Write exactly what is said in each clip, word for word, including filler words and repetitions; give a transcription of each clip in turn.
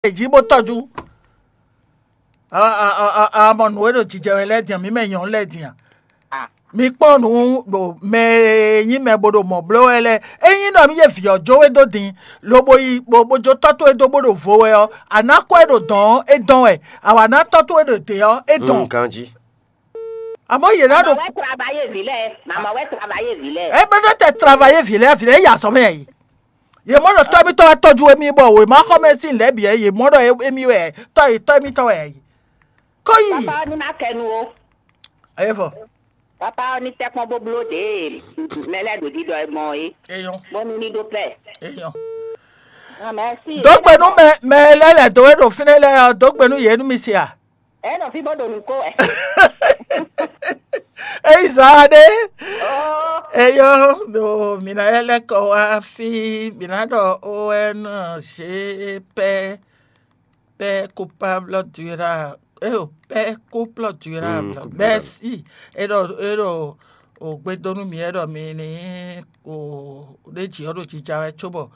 è jí bó tɔ́jú. A mɔ nǔ e ɖo jijɛ wɛ lɛ́ɛ din a? Mǐ mɛ nyɔ̌nu lɛ́ɛ din a? Mi kpɔ́n nǔ ɖo mɛ e nyí mɛ bo ɖo mɔ̌ bló wɛ lɛ́ɛ. Ényí ɖɔ mì yé vǐ ɔ́ jó we dó din, lobo yi bó bó jó tɔ́ towe dó bó ɖo vo wɛ ɔ́, a nǎ kɔ ɛ ɖo dɔ̌n ɔ́, é dɔn wɛ; a wǎ ná tɔ́ towe ɖo dě ɔ́, é dɔn. Ganjí. Àmọ́ yě ná ɖo. Mama wɛ travaye vi lɛ. Mama wɛ travaye vi lɛ. É bɛ́ ɖɔ tɛ travaye vǐ lɛ́ɛ vǐ lɛ́ɛ yi azɔ̌ mɛ yɛ yi. Yě mɔ ɖɔ tɔ́ mitɔ́ wɛ tɔ́jú émí bɔ wěma xɔ mɛ sín lɛ̌ bǐ wɛ yě mɔ ɖɔ émí wɛ tɔ́ yě tɔ́ émítɔ́ wɛ yɛ yi. Kó yi. Papa ɔ́ ní má kɛ nu ó. Ayé fɔ. Papa ɔ́ ní tɛ́ kpɔ́n bó bló ɖě mɛ lɛ́ɛ ɖo ɖiɖɔ ɛ gbɔn é. Eyɔn. Bónú ní ɖó pɛ. Eyɔn. Mɛsi. Dó gbe nú mɛ mɛ lɛ́ɛ lɛ̌ dó e ɖo fínɛ́ lɛ́ɛ ɔ́, dó gbe nú yě nú mi se a? Ɛ nɔ fí bó ɖo nǔ kó wɛ. Eyi zán ɖé. Eyɔn, ɖo mǐ ná lɛ́ lɛ́ kɔ wá fí, mǐ ná ɖɔ O N G pɛ. Père coupable durable, eh, Père couple durable. Mm, couple durable. Merci. E ɖɔ e ɖɔ o gbe dó nú mì, e ɖɔ mi ní o ɖé jǐ ɔ́ ɖo jija wɛ cóbɔ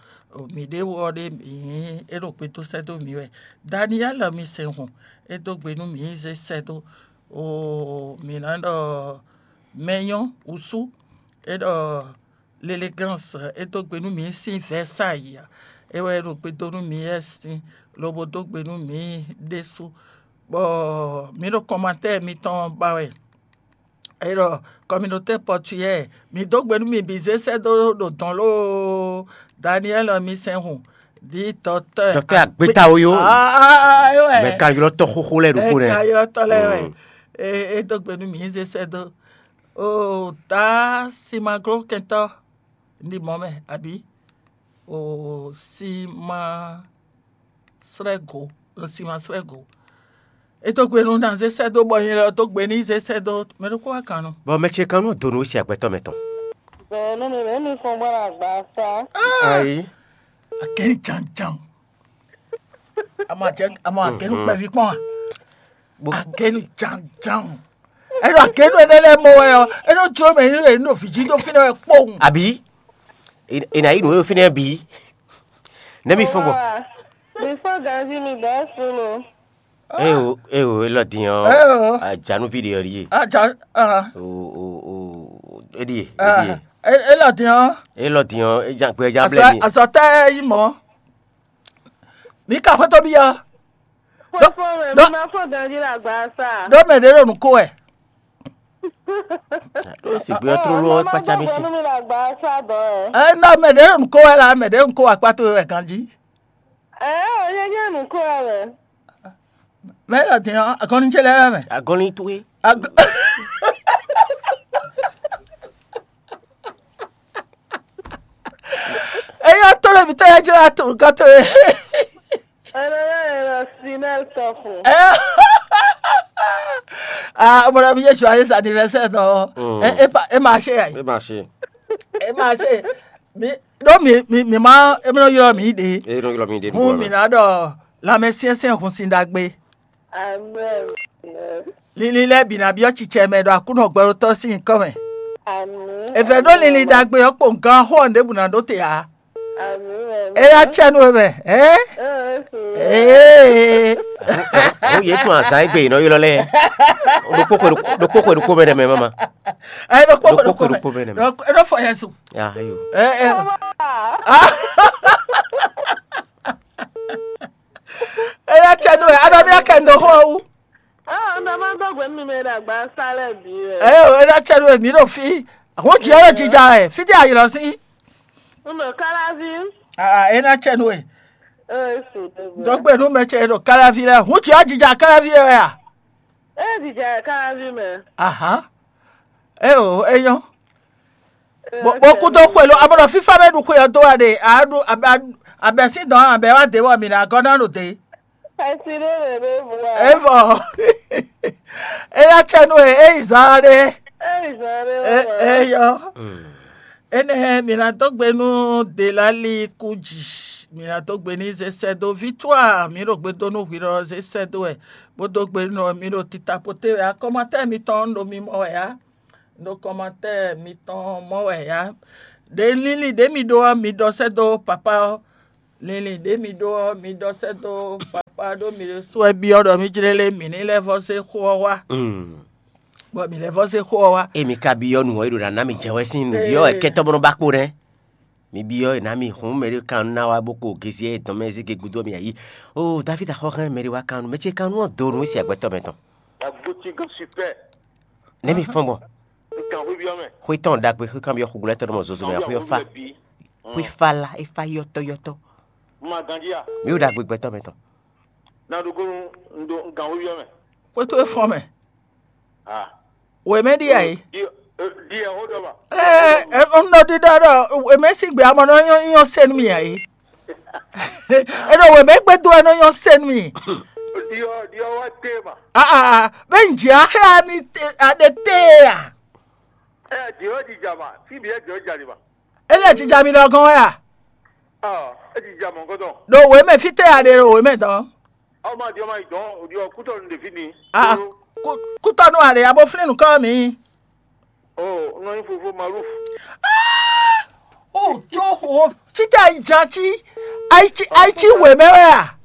mǐ ɖé wú ɔ́ ɖé mǐ e ɖo gbe dó sɛ́ dó mǐ wɛ. Daniel mi sɛn hɔn, e dó gbe nú mǐ zé sɛ́ dó o mǐ ná ɖɔ mɛ nyɔ́ wǔsú, e ɖɔ Lelégans, é dó gbe nú mǐ sín Vɛ̌sayi ǎ. É wɛ é ɖo gbe dó nú mǐ wɛ sín, lobo dó gbe nú mǐ ɖésú, bɔ mǐ ɖo kɔnmatɛ́ɛ mitɔn ba wɛ. É ɖɔ kɔminotɛ́ pɔtuyɛ́ɛ, mǐ dó gbe nú mi bǐ zé sɛ́ dó ɖo dɔ̌n lóó. Daniɛ́li mi sɛn hun, ɖǐ dɔtɛ́ Dɔtɛ́ agbeta ó yó. Aa, é wɛ. Mɛ ka ylɔ́ tɔ́ xóxó lɛ́ɛ ɖokpó nɛ́. Mɛ ka ylɔ́ tɔ́ lɛ́ɛ wɛ. Mm. É é dó gbe nú mǐ zé sɛ́ dó. O ta simaglókɛntɔ́ ní mɔ mɛ, abǐ? O simasrɛ́go, simasrɛ́go. É dó gbe nú ná zé sɛ́ dó bɔ nyɛ lɔ dó gbe ní zé sɛ́ dó mɛ ɖokpó wá kan nu. Bɔ mɛ ce kan nɔ donu si agbɛtɔ mɛ tɔn. Bɛɛ nú mi bɛɛ mi fɔn bɔ la gba sa. Ayi. Akɛn janjan. Ama jɛ ama akɛnu kpɛvi kpɔn a. Akɛnu janjan. Ɛnɔ akɛnu ɛnɛ lɛ mɔ wɛ ɔ, ɛnɔ jlo mɛ ɛnɛ lɛ ɛnɔ viji dó fínɛ wɛ kpɔn. Àbí? È nà yí nǔ e fínɛ bǐ. Nɛ́ mi fɔ́n gbɔn. Mi fɔ́n ganjí mi bɛɛ fún lo. Eo eo, elɔ din ɔ. Eo. Ajanu video ɖie. Aja ah. O o o, eɖie eɖie. Elɔ din ɔ. Elɔ din ɔ, ejan gbɛ ejan blɛ mi. Azɔtɛ yi mɔ. Mi ka xɔtɔ bi ya. Fɔfɔ mɛ, mi ma fɔ ganji la gba sa. Ɖo mɛ ɖe ɖo nuko wɛ. Ɖo sigbe ɔ trolo ɔ kpatsa mi si. Mi la gba sa dɔ ɛ. Ɛ na mɛ ɖe ɖo nuko wɛ la, mɛ ɖe nuko wɛ akpato wɛ ganji. Ɛ o nye nye nuko wɛ mɛ. Mɛ la din ɔ, agɔnni ce lɛ wɛ mɛ. Agɔnni towe. Agɔ. Eyɔ to le mi tɔ ya jira to nkan to ye. Ɛnɛ yɛ yɛ la sinɛl tɔfu. Ah, mon ami ye joyeux anniversaire non. Mm. E e pa e marché ya. E marché. E marché. Mi do mi mi mi ma e mi no yɔ mi de. E no yɔ mi de. Hun mi na do la mɛ siɛn siɛn hun sin dagbe. Amen. Lili lɛ́ɛ bǐ ná byɔ́ cicɛ mɛ ɖo Aklúnɔ gbɛɖótɔ́ sín nyǐkɔ mɛ. Amen. È vɛ̌ ɖó lili ɖagbe ɔ́ kpowun gán xó ɔ́ ɖěbǔ ná ɖó te ǎ. Amen. É yá cɛ nú we mɛ. Ɛ? Ee. Ó yě tún azǎn égbé yě nɔ ylɔ́ lɛ́ɛ. Ɖokpó xwe ɖokpó xwe ɖokpó mɛ ɖɛ mɛ mama. Ɛ ɖokpó xwe ɖokpó mɛ. Ɖokpó xwe ɖokpó mɛ ɖɛ mɛ. Ɖokpó- Ɖó fɔ yɛ su. Ya ayo. Ɛ ɛ. É yá cɛ nú we. Aɖɔ mi akɛ ndo xó ɔ́ wú. Ah, ɔ́n ma dó gbe nú mi mɛ ɖo agba sa lɛ́ɛ bǐ wɛ. Ɛ o, é ná cɛ nú we mǐ ɖo fí. Àwọn jì ɔ́ ɖo jija ɛ. Fí dí ayǐ lɔ sí. Un ɖo Káláví. Ah, é ná cɛ nú we. Ee, su ɖe gbe. Dɔgbe nú mɛ ce ɖo Káláví lɛ. Hun jì ɔ́ jija Káláví wɛ a? Ee, jija Káláví mɛ. Aha. É o, é nyɔ́. Bó kú dó xwe ló, abɔ́ ɖɔ fífá bɛ ɖu xwe ɔ́ dó wá ɖe, a ɖu abɛ sín dɔn abɛ wá dé wɔ mǐ ná gɔ́ ná ɖo dě. Xɛsi ɖé lě ɖé bú wa. É vɔ. É ná cɛ nú e, é yi zán ɖé. É yi zán ɖé wá. É yɔ. Énɛ́ mǐ ná dó gbe nú Delali kú jǐ. Mǐ ná dó gbe n'i zé sɛ́ dó Victoire, mǐ ɖo gbe dó nú hwi ɖɔ zé sɛ́ dó wɛ, bó dó gbe nú mi ɖo tita poté wɛ akɔmatɛ mitɔn ɖo mi mɔ wɛ ǎ. Ɖo kɔmatɛ mitɔn mɔ wɛ ǎ. Ɖe lílí ɖě mi ɖó ɔ́, mi ɖɔ sɛ́ dó papá ɔ́. Linlin ɖě mi ɖó ɔ́, mi ɖɔ sɛ́ dó papá ɖó mi ɖésú wɛ byɔ́ ɖɔ mí jlé lé mǐ ní lɛ́ vɔ́ zé xó ɔ́ wá, bɔ mǐ lɛ́ vɔ́ zé xó ɔ́ wá. Emi ka byɔ́ nǔ ɔ́, é ɖo ná ná mi jɛ wɛ sín nǔ byɔ́ wɛ kɛ́tɔ́ bó nɔ́ ba kpo nɛ́. Mi byɔ́ è nǎ mi hun mɛ ɖé kan nú ná wá bó ko gezi e dɔn mɛ zé ge gúdo mi ayǐ. O David axɔ́ hɛn mɛ ɖé wá kan nú mɛ ce kan nú ɔ́ do nú sí agbɛtɔ́ mɛ tɔn. Agbotigan super. Nɛ́ mi fɔ́n gbɔn. Nkan xwé byɔ́ mɛ. Xwé tɔn ɖagbe xwé kan byɔ́ xugulɛ́tɔ́ nɔ mɔ zozo mɛ xwé ɔ́ fa. Xwé fa la é fa yɔ́tɔ́yɔ́tɔ́. Ma ganjí a? Mi ɖo ɖagbe gbɛtɔ́ mɛ tɔn. Na ɖo gonu ndo nkan xwé byɔ́ mɛ. Xwé towe fɔ́n mɛ. Ah. Wěmɛ ɖíe ǎ é. Di di ɛ xó ɖɔ ma. Ɛɛ, un nɔ ɖiɖɔ ɖɔ wěmɛ sín gbé amɔ nɔ nyɔ́ nyɔ́ sɛn nú mì ǎ é. É ɖo wěmɛ gbé dó wɛ nɔ nyɔ́ sɛn nú mì. Di ɔ di ɔ wá té ma. Aa, bɛ n jɛ axɛ ani aɖe té a. Ɛ di ɔ di dza ma, fi bi ɛ di ɔ dza di ma. Ele jija mi lɔ gɔn wɛ a? Ɔ, e dza mɔ gɔdɔ. Ɖo wěmɛ fítɛ́ a ɖe ɖo wěmɛ dɔn? Ɔ ma di ɔ ma yi dɔn, o di ɔ kútɔ nu ɖe fi ni. Ah, kútɔnu a ɖe abo flín nukɔ mi. O nɔ nyi fofo Maluf. O tso xo fítɛ́ a yi jan cí a yi cí a yi cí wěmɛ wɛ a?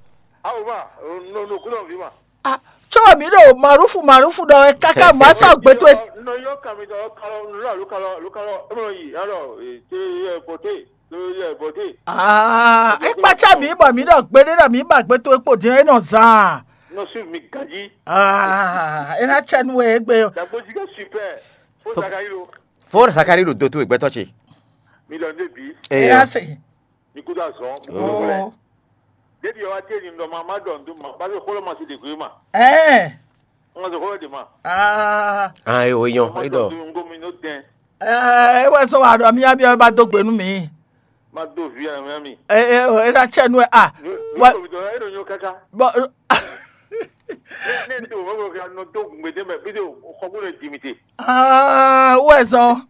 Awo ma, no no kútɔ vi ma. Ah, tso mi ɖo Malufu Malufu ɖɔ wɛ káká ma sɔ gbɛtɔ. Nɔ yɔ kami dɔ kalɔ nulɔ alo kalɔ alo kalɔ emɔ yi alɔ te yɛ bɔte te yɛ bɔte. Ah, e kpatsa mi bɔ mi ɖɔ gbeɖe ɖɔ mi ba gbɛtɔ kpo din e nɔ zan. Nɔ su mi ganji. Ah, e na tsɛ nu e gbe. Dagbozi ka super. Fo Zakari lo. Fo Zakari ɖo do towe gbɛtɔ ce. Mi lɔ ne bi. E ya se. Mi kúdó azɔn mi kúdó wlɛ. Débi ɔwá tí èyí ŋdɔ ma má ɖɔ ŋdó ma bá fi xó lɔ ma si ɖe gbé ma. Ɛɛ. Ŋ ma se xó lɔ ɖe ma. Aa. Ah, e o yɔn e ɖɔ. Ŋgó mi nɔ dɛn. Ɛɛ, e wɛ sɔ wa ɖɔ mi abi ɔba dó gbe nú mi. Ma dó vi ara mi. Ɛ ɛ e ɖa tsɛ nu ɛ a. Wa. Bɔ. Ne ne to ma ko ka nɔ dó gbe dé mɛ bi de xɔ bó lɛ di mi te. Aa, wɛ zɔn.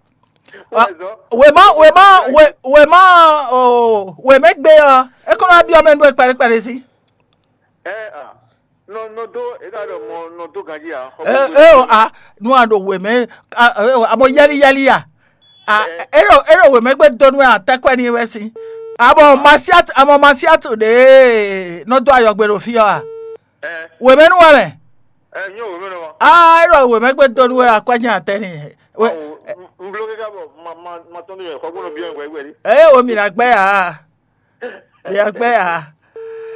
Wema wema wema o wemegbe ɔ, e kɔnɔ abi ɔmɛ ndu ekpɛlɛ kpɛlɛ si. Ɛ a nɔ nɔ dó e ka ɖɔ mɔ nɔ dó ganji a. E o a nu a ɖo wemɛ a mɔ yɛli yɛli a. A e ɖo e ɖo wemegbe donu a tɛkɔ ni wɛ si. A mɔ masiatu a mɔ masiatu ɖe nɔ dó ayɔgbe ɖo fi ɔ a. Wemɛnu wɛ mɛ. Aa, e ɖɔ wemɛ gbe donu wɛ akwɛ́ nya tɛ́ ni. Nbló kɛká bɔ ma ma ma tɔn ní xɔ gbɔdɔ bí wɛ wɛ. Eye wo mi na gbɛ ya. Mi na gbɛ ya.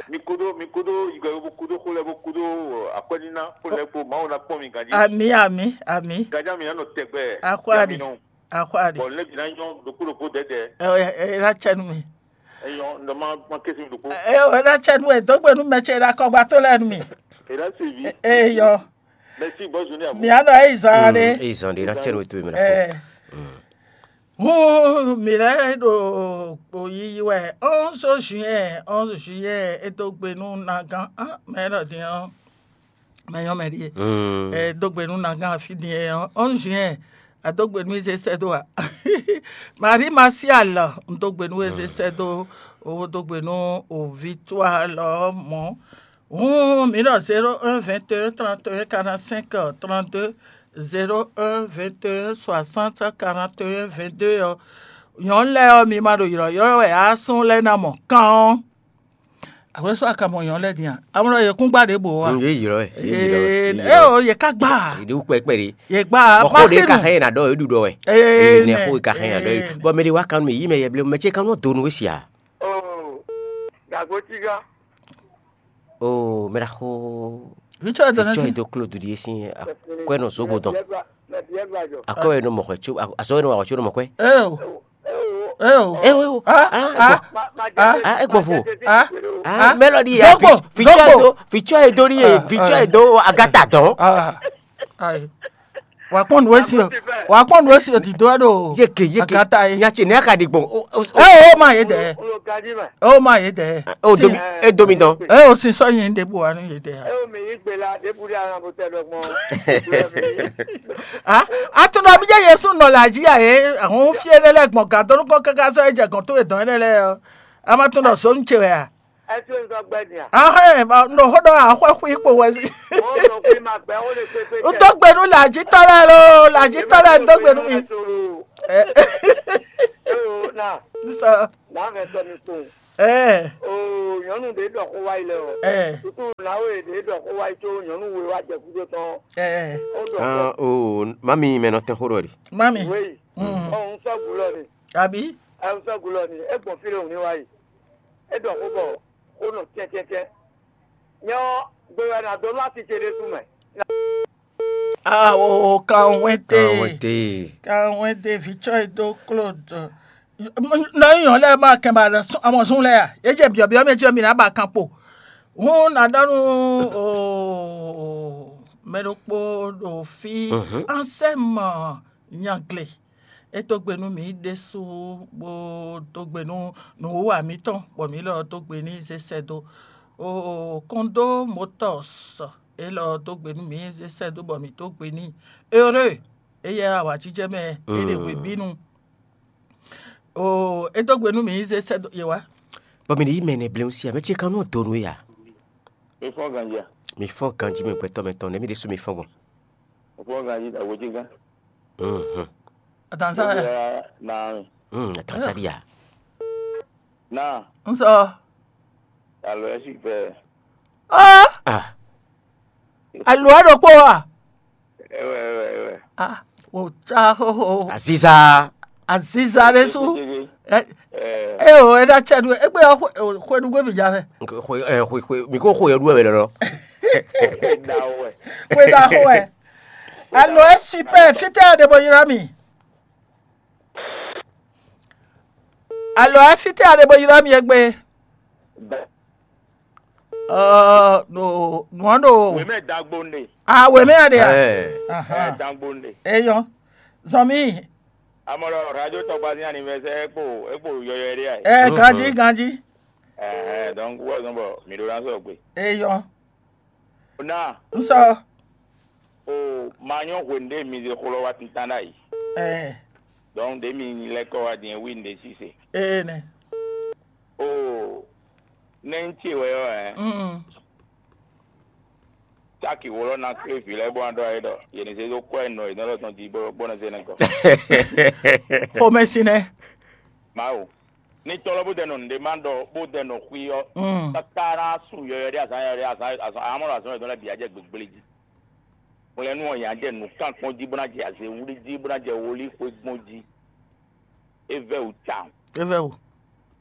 Mi kodo mi kodo igbe bo kodo xo lɛ bo kodo akwɛ́ níná xo lɛ kpo mawu na kpɔn mi ganji. Ami ami ami. Ganji ami anɔ tɛgbɛ. Akwari akwari. Bɔn lɛ bi na nyɔ ɖokpo ɖokpo dɛdɛ. Ɛ ɛ ɛ la tsɛ nu mi. Eyɔ ndɔ ma ma kesi ɖokpo. Ɛ ɛ la tsɛ nu ɛ dɔgbe nu mɛ tsɛ la kɔgba to lɛ nu mi. Ela se vi. Eyɔ. Merci bonne journée à vous. Mi anɔ eyi zan ɖe. Eyi zan ɖe la tsɛ nu to mi la. Ɛ. Hun mi lɛ ɖo kpo yiyi wɛ onze juin onze juillet e dó gbe nú nagán mɛ lɔ din ɔ́. Mɛ nyɔ́ mɛ ɖíe. Ɛ dó gbe nú nagán afi din ɔ́ onze juin a dó gbe nú izé sɛ́ dó a. Marie Martial un dó gbe nú ezé sɛ́ dó owó dó gbe nú o victoire lɔ mɔ̌. Hǔn mǐ ɖɔ zéro un vingt et un trente et un quarante cinq trente deux zéro un vingt et un soixante quarante et un vingt deux ɔ́. Nyɔ̌nu lɛ́ɛ ɔ́, mi ma ɖo ylɔ̌ylɔ́ wɛ ǎ, súnnu lɛ́ɛ ná mɔ kán ɔ́. Àwlɛ́sɔ́ a ka mɔ nyɔ̌nu lɛ́ɛ din a? A mɔ ɖɔ yě kún gbá ɖěbǔ ɔ́ a? Yě ylɔ́ ɛ. Yě ylɔ́ ɛ. Ee, yě ká gbá a? Yě ɖe wú kpɛkpɛ ɖe. Yě gbá a? Bɔ xó ɖe ka xɛn yě ná ɖɔ yě ɖu ɖɔ wɛ. Ee, nɛ xó ɖe ka xɛn yě ná ɖɔ yé ɖu. Bɔ mɛ ɖe wá kan nú mì yí mɛ yɛ blé mɛ ce kan nɔ do nú wé si a? Oo, dàgbò tígá. Oo, mɛ ɖa xó. Vitsɔ yɛ dɔ nɛ si. Vitsɔ yɛ dɔ klo dudi yɛ si. Kɔɛ nɔ zogbo dɔn. Akɔ yɛ nɔ mɔ xɔ tso azɔ yɛ nɔ wa xɔ tso nɔ mɔ kɔɛ. Ee o. Ee o. Ee o. Ah, ah, ah, ah, e gbɔn vo. Ah, ah, mélòdì ya. Dogbo, fitsɔ dogbo. Edo, fitsɔ edo ni ye, ah, fitsɔ ah. Edo agata dɔn. Ah, ayi. Wa kpɔn nu esi o. Wa kpɔn nu esi o dido ɖo. Yeke yeke. Agata ye. Nya tse ne aka di gbɔn. Ee o ma ye dɛ. O ma ye dɛ. O domi e domi dɔn. Ee o si sɔ yin de bo wa nu ye dɛ. Ee o mi yi gbe la de bu de ara bo tɛ dɔ gbɔn. Ah, atunɔ bi jɛ Yesu nɔ la ji ya ye. Ahun fie ne lɛ gbɔn gadonu kɔ kaka sɔ e jɛ gɔn to e dɔn ne lɛ. Ama tun nɔ zonu ce wɛ a? Ɛ tún nzɔ gbɛ din a? Ahɛn, nɔ xɔ dɔ axɔ xui kpo wɛ si. Mo nɔ xui ma gbɛ wo le kpekpe. N dó gbe nú làjítɔ́ lɛ́ɛ ló, làjítɔ́ lɛ́ɛ n dó gbe nú mi. Ee o na. Sɔ. Na vɛ tɔ mi kpo. Ɛɛ, Oo, nyɔ̌nu ɖě ɖɔ xó wá yi lɛ ɔ́. Ɛɛ, Tutu nǎwe ɖě ɖɔ xó wá yi có nyɔ̌nu we wá jɛ gúdo tɔn. Ɛɛ, ó ɖɔ xó. Ah, oh, mami mɛ nɔ tɛn xó ɖɔ ɖi. Mami. Wéyi. Mm. Ɔ, un sɔ́ gǔ lɔ ni. Abi. Ɛ, un sɔ́ gǔ lɔ ni. É gbɔn fí ɖé hǔn ní wá yi. É ɖɔ xó bɔ xó nɔ tɛ́ntɛ́ntɛ́n. Nyɛ ɔ́, gbe wɛ nǎ dó nú asi ce ɖésú mɛ. Ah, oh, oh, kanwete. Kanwete. Kanwete, vitsɔ e dó Claude. Nɔ nyɔ lɛ ma kɛ ba lɛ amɔ zun lɛ ya. Ye jɛ biɔ biɔ mɛ jɛ mi na ba kan kpo. Hun na dɔ nu o mɛ ɖokpo ɖo fi. Mhm. Ansɛmɔ nyagle. E dó gbe nú mǐ ɖésú bó dó gbe nú nǔwiwa mǐtɔn, bɔ mǐ lɔ dó gbe n'i zé sɛ́ dó. O kɔndo motɔs élɔ́ dó gbe nú mǐ zé sɛ́ dó bɔ mǐ dó gbe n'i. Heureux, éyɛ́ awǎjijɛ mɛ é ɖe hwebǐnu. O é dó gbe nú mǐ zé sɛ́ dó yě wá. Bɔ mi ɖe yí mɛ nɛ bleun si amɛ ce kan nɔ donu ya. Mi fɔ́n ganjí a? Mi fɔ́n ganjí mɛ gbɛtɔ́ mɛ tɔn nɛ mi ɖésú mi fɔ́n gbɔn. Mi fɔ́n ganjí ta wodjigán. Mhm. Atansa. Bóyá na mi. Mm, atansa dia. Na. N sɔ. Alo ɛ si fɛ. Ah. Ah. Alo ɛ ɖokpó wa. Ɛwɛ ɛwɛ ɛwɛ. Ah, o tsa xoxo. Aziza. Aziza ɖe su. Ɛ, Ɛ, ɛ o, ɛ ɖa tsɛ ɖu egbe ɔ xwe ɖu gbé mi dza fɛ. Xwe ɛ xwe xwe mi ko xwe ɛ ɖu ɛ wɛ lɔlɔ. Ɛ da wɛ. Xwe ɖa xo ɛ. Alo ɛ super fitɛ ɖe bɔ yra mi. Alo ɛ fitɛ ɖe bɔ yra mi egbe. Ɔ no nuan ɖo. Wemɛ dagbo ne. A wemɛ ya ɖe ya. Ɛ Ahan. Dagbo ne. Eyɔ zɔn mi. Amɔlɔ radio tɔgbazi anniversaire ekpo ekpo yɔyɔ ɖe ya. Ɛ ganji ganji. Ɛɛ donc wɔ zɔn bɔ mi ɖo na sɔ gbe. Eyɔ Na n sɔ. O ma nyɔ hwenu ɖe mi ze xlɔ wa tintan ɖ'ayǐ. Ɛ Donc ɖe mi lɛ kɔ wa din wi ɖe sise. Ee nɛ. O nɛ n ce wɛ ɔ ɛ. Mm. Taki wolo na kple vi lɛ bɔ an ɖɔ ayé ɖɔ yɛn se ɖo kɔ ɛ nɔ yɛn lɔ tɔn di bɔ bɔ na se ne kɔ. Xomɛsinɛ. Mawu. Ní tɔ́ lɔ bó dɛ nɔ nǔɖé ma ɖɔ bó dɛ nɔ xwí ɔ́, Mm. Káká ná su yɔyɔ ɖé azǎn yɔyɔ ɖé azǎn azǎn amɔ́ ɖo azɔn yɔyɔ lɛ́ɛ bǐ á jɛ gběgblé jí. Hwlɛ́nú ɔ́, yě á jɛ nǔkán kpɔ́n jí bó ná jɛ azě wlí jí bó ná jɛ wlí xwé gbɔn jí. É vɛ́ wǔ tawun. É vɛ́ wǔ.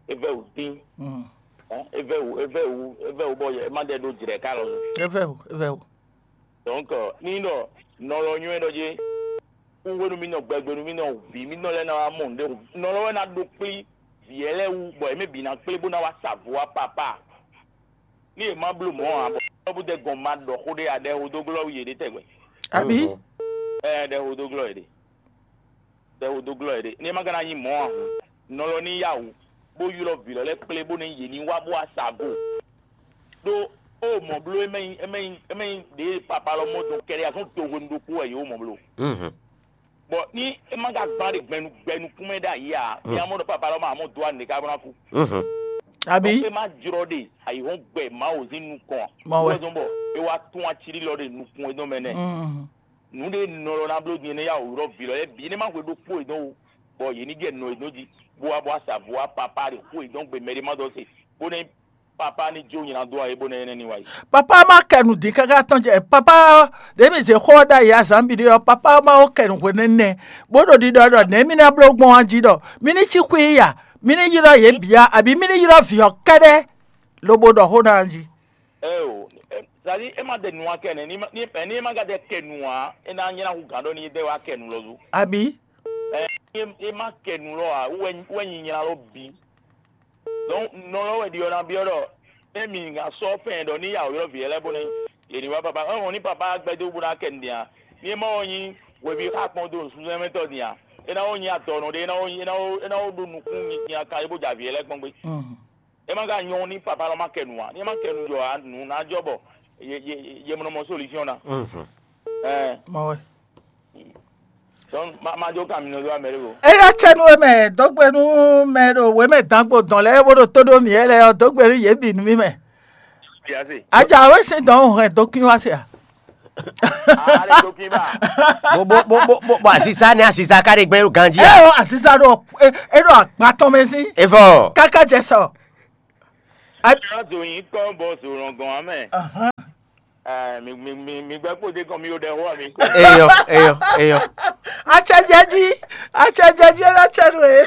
É vɛ́ wǔ dín. Mm. Hɛn, é vɛ́ wǔ é vɛ́ wǔ é vɛ́ wǔ bɔ yɛ é má ɖɛ ɖó jlɛ̌ ká lɔ. É vɛ́ wǔ. É vɛ́ wǔ. Donc ní ɖɔ nɔ lɔ nywɛ́ ɖɔ jé kú hwenu mì nɔ gbɛgbenu mì nɔ vǐ mì nɔ lɛ́ɛ ná wá mɔ nǔɖé hǔn nɔ lɔ wɛ ná ɖó kplí vǐ lɛ́ɛ wú bɔ yě mɛ bǐ ná kplé bó ná wá sa vo wá papá ní yě má bló mɔ̌ ǎ bɔ bó dɛ gɔn ma ɖɔ xó ɖé aɖɛ hodóglɔ́ yě ɖé tɛgbɛ. Abi. Ɛ ɖɛ hodóglɔ́ yě ɖé ɖɛ hodóglɔ́ yě ɖé ní é má ka ná nyí mɔ̌ ǎ hǔn nɔ lɔ ní yá wǔ bó ylɔ́ vǐ lɔ lɛ́ɛ kplé bó ní yě ní wá bó wá sa vo ɖó ó mɔ̌ bló é mɛ nyí é mɛ nyí é mɛ nyí ɖě papa lɔ mɔ dɔn kɛɖɛ azɔn do hwenu ɖokpó wɛ yě wó mɔ̌ bló. Bɔ ní é má ka gbán ɖe gbɛnu gbɛnukún mɛ ɖ'ayǐ ǎ, ní a mɔ ɖɔ papa lɔ ma mɔ dó anǔ ɖé ká bó ná kú. Abi. Donc é má jlɔ́ ɖe ayǐhɔ́ngbe Mawu sín nukɔn ǎ. Mɔ wɛ. Wɛzɔn bɔ é wá tún ací lɔ ɖe nukun e dɔn mɛ nɛ. Mm. Nǔ ɖé nɔ lɔ ná bló din é nɛ́ yá wǔ ylɔ́ vǐ lɔ lɛ́ɛ bǐ é nɛ́ má hwe ɖokpó e dɔn o, bɔ yě ní jɛ nɔ e dɔn jí, bó wá bó wá sa vo wá papá ɖě xó e dɔn gbe mɛ ɖé má dɔn se, bó nɛ́ papá ní jó nyi ná dó ayé bó nɛ́ énɛ́ ní wá yi. Papa ma kɛ nǔ dín káká tɔn jɛ papa ɖě mi zě xó ɔ́ ɖ'ayǐ azǎn bǐ ɖé ɔ́, papa ma ko kɛ nǔ hwe nɛ́ nɛ́, bó ɖo ɖiɖɔ ɖɔ nɛ̌ mì ná bló gbɔn ɔ́ jí ɖɔ mì ní cí xwí i a, mì ní ylɔ́ yě bǐ a, abǐ mì ní ylɔ́ vǐ ɔ́ kɛ́ɖɛ́ lobo ɖɔ xó ná jí. Eo, sadi é má ɖe nǔ wá kɛ nɛ́ ní é má ka ɖe kɛ nǔ ǎ, é ná nyí ná hú gǎn ɖɔ ní é ɖe wá kɛ nǔ lɔ zú. Abǐ. Ɛ é má kɛ nǔ lɔ ǎ, wɛ nyinyla lɔ bǐ. Donc nɔ lɔ wɛ ɖi ɔ́ ná byɔ́ ɖɔ émi ná sɔ́ fɛn ɖɔ ní yá wǔylɔ́ vǐ lɛ́ɛ bó ná yě ní wá papa é hɔn ní papa gbɛdó bó ná kɛ nǔɖé ǎ. Ní é má wɔ nyí hweví xá kpɔ́n dó nǔsúnnú mɛ tɔn din ǎ, é ná wɔ nyí adɔnɔ ɖé é ná wɔ é ná wɔ é ná wɔ ɖó nukún nyinyi kan é bó jɛ avǐ lɛ́ɛ kpɔ́n gbé. É má ka nyɔ́ ní papa lɔ má kɛ nǔ ǎ. Ní é má kɛ nǔ jɔ ǎ, nǔ ná jɔ bɔ ye ye ye mɔ nɔ mɔ solution ná. Ɛ Mɔ wɛ. Donc ma ma jó ka mi nɔ dó amɛ ɖé ko. Eya cɛ nú we mɛ dɔgbe nú mɛ ɖo we mɛ dangbo dɔn lɛ́ɛ bó ɖo tó ɖó mǐ lɛ́ɛ ɔ́ dɔgbe nú yě bǐ nú mí mɛ. Biase. Aja wɛ sín dɔn hɛn dɔkun wá se a. Ale dɔkun ba. Bo bo bo bo bo bo asisa ne asisa ka ɖe gbɛ ɖo ganji Ɛ a. O asisa ɖo e e ɖo agba tɔn mɛ sín. Evɔ. Kaka jɛ sɔ. Ná zo nyǐkɔ bɔ zo lɔngɔn ǎ mɛ. Ahán. Eh, mi mi mi mi gbɛ kpo de kɔn mi yo ɖɛ xo ami ko. Eyɔ, eyɔ, eyɔ. Acɛjɛji, acɛjɛji ɛ ná cɛ nú e.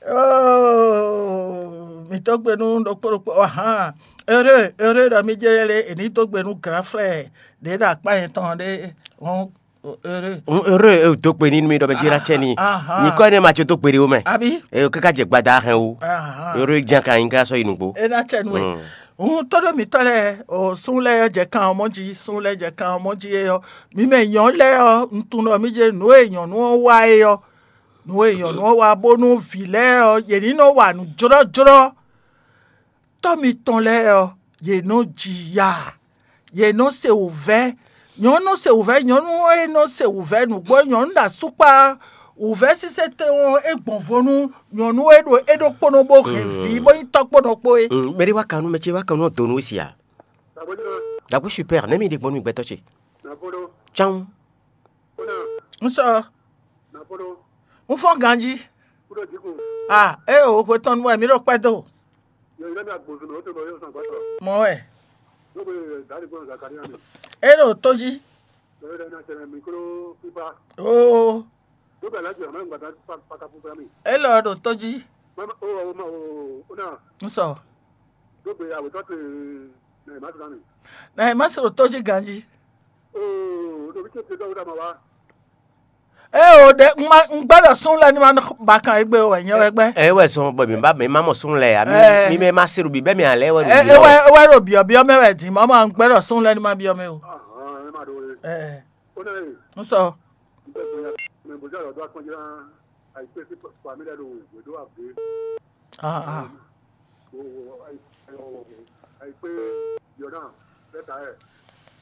Oh, mi dó gbe nú ɖokpó ɖokpó. Ahán. Ere, ere ɖɔ mi jɛ lɛ e ní dó gbe nú grand frère ɖě ɖo akpá yɛn tɔn ɖé. Hɔn, ere. Ere e dó gbe ní nú mi ɖɔ mɛ jí ná cɛ ní. Ahán. Nyikɔ énɛ́ ma ce dó gbe ɖé wo mɛ. Abi. Eye káká jɛ gbada hɛn wo. Ahán. Ere ján ka nyí ká sɔ́ yi nǔgbó. E ná cɛ nú e. Mm. Hun tó ɖo mǐtɔn lɛ́ɛ, o sún lɛ́ɛ jɛ kan ɔ́ mɔ jí, sún lɛ́ɛ jɛ kan ɔ́ mɔ jí é ɔ́, mi mɛ nyɔ̌nu lɛ́ɛ ɔ́, un tunwun ɖɔ mí jɛ nǔ e nyɔ̌nu ɔ́ wa é ɔ́, nǔ e nyɔ̌nu ɔ́ wa bónú vǐ lɛ́ɛ ɔ́, yě ní nɔ wa nǔ jlɔ́jlɔ́. Tɔ́ mitɔn lɛ́ɛ ɔ́, yě nɔ ji ya, yě nɔ se wǔvɛ́. Nyɔ̌nu nɔ se wǔvɛ́, nyɔ̌nu e nɔ se wǔvɛ́ nǔgbó, nyɔ̌nu ɖo asúkpá wǔvɛ́ sísɛ́ tɛn ɔ́, é gbɔn vo nú nyɔ̌nu e ɖo é ɖokpónɔ bó hɛn vǐ bó nyí tɔ́kpónɔ kpó é. Mm, mɛ ɖé wá kan nú mɛ ce wá kan nú ɔ́ donu wé sia. Dàgbé super, nɛ̌ mi ɖe gbɔn nú mi gbɛtɔ́ ce? Cán. Un sɔ. Un fɔ́n ganjí. Ah, é o hwe tɔn nú wɛ mǐ ɖo kpɛ́ dó. Mɔ wɛ. É ɖo tó jí. Oo. É lɔ ɖo tó jí. Un sɔ. Nɛ má se ɖo tó jí ganjí. Ee o ɖe un ma un gbɛ́ ɖɔ sún lɛ́ɛ ní ma ba kan égbé o wɛ nyɛ wɛ gbɛ́. Ɛ wɛ zɔn bɔ mi ba mi ma mɔ sún lɛ ami. Ɛ. Mi mɛ ma se ɖo bi bɛ mi alɛ wɛ ɖo Ɛ bi ɛ wɛ ɛ wɛ ɖo biɔ biɔ mɛ wɛ din mɔ ma un gbɛ́ ɖɔ sún lɛ́ɛ ní ma biɔ mɛ o. Ɛ. Un sɔ. Mɛ bó jẹ́ ọ̀dọ́ akpọ́njẹ́ náà àìpé sí pàmílẹ̀ ló wò dó àgbé. Ah ah. Àìpé yọ̀nà lẹ́tà ẹ̀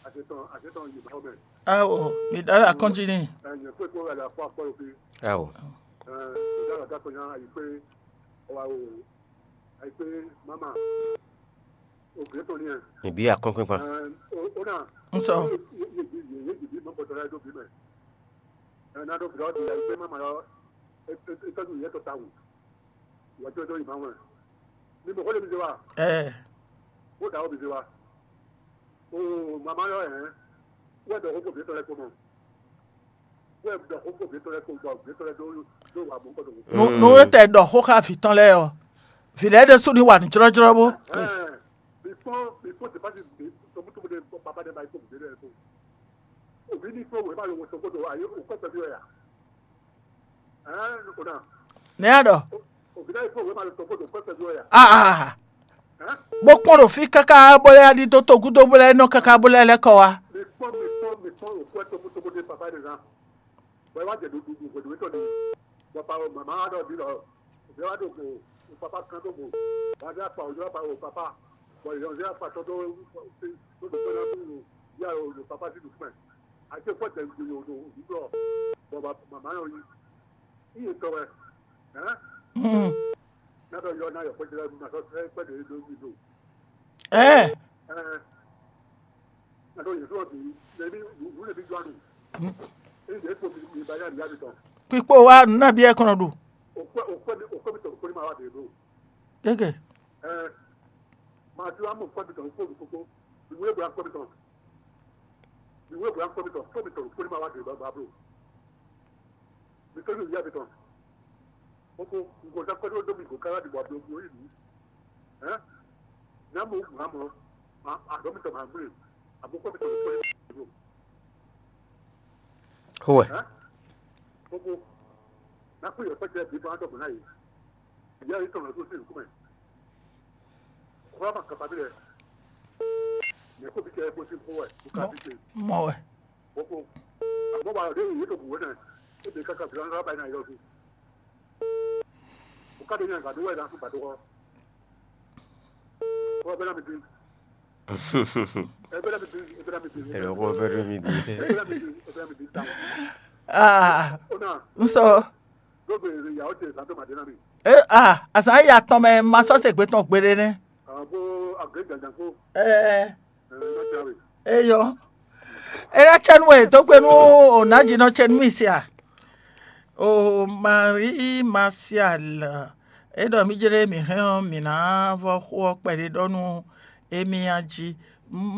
àṣetán àṣetán yìí bá ọmọ ẹ̀. Awo, mi dala kɔntini. Ẹ̀yìn pé kó rẹ̀ lọ fọ́ akpọ́ òfin. Awo. Ìdára dákọ̀ yẹn àìpé ọwọ́ àwò àìpé mama ògbé tó ní ẹ̀. Ìbí àkọ́kọ́ pa. Ó náà. Ń sọ. Yéjìbí mọ́ bọ́tọ̀ láyé tó bí mẹ́. Ẹ̀ náà tó fi ọ́ di àìpé mama lọ. Ìtọ́jú ìyẹn tó ta wù. Ìwà tí ó tó yìí máa wẹ̀. Ní mo kọ́ lè mi ṣe wa. Ẹ. Ó dà ó mi ṣe wa. O màmá yọ ẹ̀. Wọ́n dọ̀ kókó mi tọ́lẹ̀ kó mọ̀. Wọ́n dọ̀ kókó mi tọ́lẹ̀ kó gbọ́ mi tọ́lẹ̀ tó tó wà mú kọ́tò. Nu nu e tɛ ɖɔ xó xá vǐ tɔn lɛ́ɛ ɔ́, vǐ lɛ́ɛ ɖésú ní wa nǔ jlɔ́jlɔ́ bó. Ẹ before before the party be tɔmɔtɔmɔ de papa de ba ikɔ bebe de ko. Obi ní kó wèé ma lọ wọ sọ kótó ayé òkú ẹ̀fẹ̀ bí ọ̀yà. Ẹ ẹ nìkó náà. Ní a ɖɔ. Obi náà ikú wèé ma lọ sọ kótó òkú ẹ̀fẹ̀ bí ọ̀yà. Ah ah. Bó kpɔ́n ɖo fí káká bó lɛ́ ɖi dó togúdó bó lɛ́ nɔ káká bó lɛ́ lɛ́ kɔ wá. Mi kpɔ́n mi kpɔ́n mi kpɔ́n òkú ẹ̀ tókútókú dé papa de zán. Bɔ ẹ wá jẹ ɖuɖu hwɛ̌ɖuwétɔ́ ni. Bɔ pa o mama wá ɖɔ ɖi lɔ. Òbí wá ɖo go. O papa kan ɖo go. Wá dé akpa òjò wá pa o papa. Bɔ ìyɔn dé akpa tɔn tó tó tó tó tó tó ya o o papa sí dùkú mɛ. Àti fɔ tẹ̀ gbìyànjú o o dùkú lɔ. Bɔ mama yọ yi. Iye tɔ wɛ. Hɛn. N'a ɖɔ yɔ n'a yɔ kpɛjɛ lɛ ma sɔ sɛ kpɛjɛ ɖo mi do. Ɛ. Ɛ. N'a ɖɔ yɛ sɔ bi lɛ bi wú lɛ bi jɔ anu. Eyi ɖe kpo mi ba ya mi ya mi tɔ. Kpikpo wa nuna bi ɛ kɔnɔ ɖu. O kpɛ o kpɛ mi o kpɛ mi tɔ o kpɛ mi ma wa de do. Gege. Ɛ. Ma ti wa mo kpɛ mi tɔ o kpɛ mi koko. Ìwé bla kpɛ mi tɔ. Ìwé bla kpɛ mi tɔ kpɛ mi tɔ o kpɛ mi ma wa de ba ba blo. Mi tɔ ni o ya mi tɔ. Koko nko sa kpɛ do do mi ko kala di bɔ a do mi o yi mi. Ɛ. N'a mo wu ma mɔ. A a dɔ mi tɔ ma gble. A bo kpɛ mi tɔ o kpɛ mi ma wa de do. Howɛ. Ɛ. Koko. N'a kpɛ yɔ kpɛ cɛ bi bɔ a dɔ bɔ n'a yi. Ìyá yìí tɔ̀nà tó sí ìlú kúmẹ̀. Kúrò àmà kàtà bí rẹ̀. Yẹ kó bí kẹ́ ẹ kó sí fún wẹ̀ kó ká bí ṣe. Mɔ wɛ. Kókó. Àmọ́ wà lóde yìí tó bùwé náà. É bẹ kákà bí wọn bá yín náà yọ sí. Kó ká dé yàn gàdúrà yìí náà fún gbàdúrà. Kó bẹ́ẹ̀ náà mi dín. Ẹ bẹ́ẹ̀ náà mi dín. Ẹ bẹ́ẹ̀ náà mi dín. Ẹ bẹ́ẹ̀ náà mi dín. Ẹ bẹ́ẹ̀ náà mi dín. Ẹ bẹ́ẹ̀ náà mi dín. Táwọn. Ah, Ó náà. Ń sọ. Ló bèrè ìyàwó tiẹ̀ sàn tó màdé náà mi. Eh, ah, àṣà yìí àtọmọ ẹ máa sọ́sẹ̀ gbé tán gbére ní. Àwọn kó àgbẹ̀ jàjà kó. Ẹ Ẹ ló ti rè. Eyọ. Era chenu e tó gbé nú ònà jìnnà chenu mi sia. O Marie Martial. É ɖɔ mǐ jlé mǐ hɛn ɔ́, mǐ ná vɔ́ xó ɔ́ kpɛɖé ɖɔ nú émí a jí.